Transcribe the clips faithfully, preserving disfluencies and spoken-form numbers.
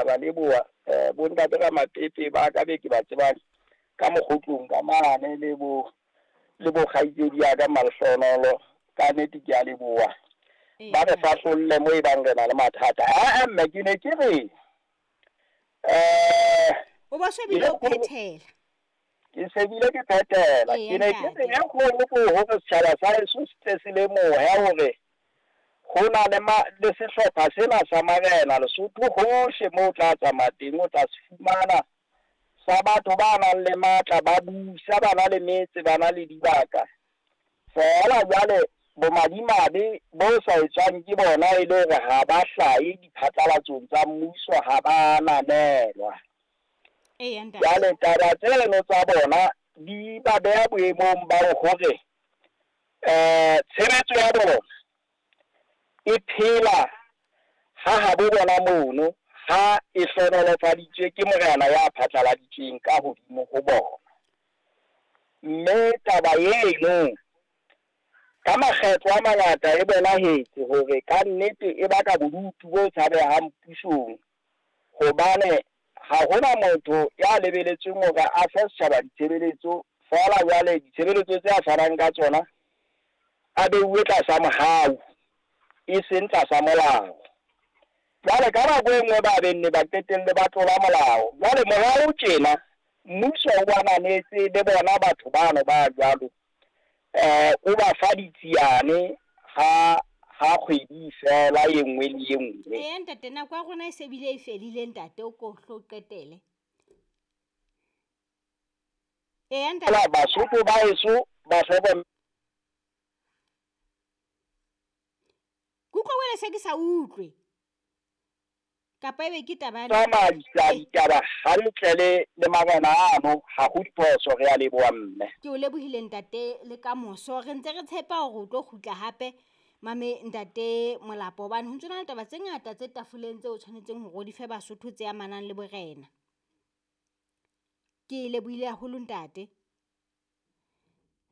Ba leboha eh bontate ka Matepe ba ka be ke ba tsebang ka mokgotlong ka mane le bo le bo kgaitsedi ya ka Malhlonolo, ka nnete ke a leboha. Ba re fahlolle mo e bang re na le mathata. Ah mme ke ne ke re eh o ba shebile o phethela. Ke sebile ke phethela. Ke ne ke re e kgolo ko hore setjhaba sa heso se tle se lemohe hore ho na le ma le sehlopha sena sa marena Lesotho hohle moo o tla tsamaya teng, o tla se fumana sa batho ba nang le matla, ba busa, ba na le metse, ba na le dibaka. Feela jwale bomadimabe bo sa etswang ke bona e le hore ha ba hlahe diphatlalatsong tsa mmuso, ha ba ananelwa. Jwale taba tseno tsa bona di ba beha boemong ba hore eh tshebetso ya bona e phela ha habo bona mono, ha e hlohonolofaditswe ke morena ya phatlaladitsweng ka hodimo ho bona. Mme taba eno ka makgetlo a mangata e bonahetse hore ka nnete e baka bodutu bo tshabehang pusong, hobane ha hona motho ya lebeletsweng hore a fe setjhaba ditshebeletso. Feela jwale ditshebeletso tse a fanang ka tsona a beuwe tlasa mohau, e seng tlasa molao. Jwale ka nako e nngwe ba benne ba qetelle ba tlola molao. Jwale morao tjena mmuso o ananetse le bona batho bano ba jwalo, eh o ba fa ditsiane ha ha kgwedi fela e nngwe le e nngwe. Eh ntate, nako ya rona e se bile e fedile ntate, o ko hlo qetele. Eh ntate, Basotho ba heso ba hlokomele. Ke utlwa wena se ke sa utlwe. Kapa ebe ke taba ya Tsamaisa ditaba hantle le le marena ano, ha ho diphoso, re a leboha mme. Ke o lebohile ntate le ka moso. Re ntse re tshepa hore o tlo kgutla hape mame ntate Molapo, hobane ho ntso na le taba tse ngata tse tafoleng tseo o tshwanetseng hore o di fe Basotho tse amanang le borena. Ke lebohile haholo ntate.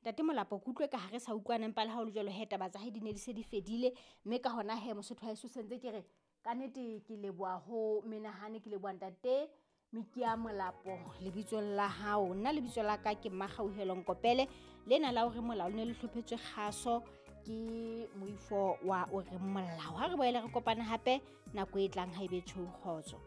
Ntate Molapo, ke utlwe ka ha re sa utlwane, empa le ha ho le jwalo he taba tsa hae di ne di se di fedile. Mme ka hona he Mosotho wa heso sentse ke re ka nnete ke leboha ho menahane, ke leboha ntate Mikia Molapo lebitsong la hao. Nna lebitso la ka ke Mmakgauhelo Nkopele. Lena la hore molao le ne le hlophetswe kgaso ke moifo wa o reng molao. Ha re boele re kopane hape nako e tlang, ha ebe tjho, kgotso.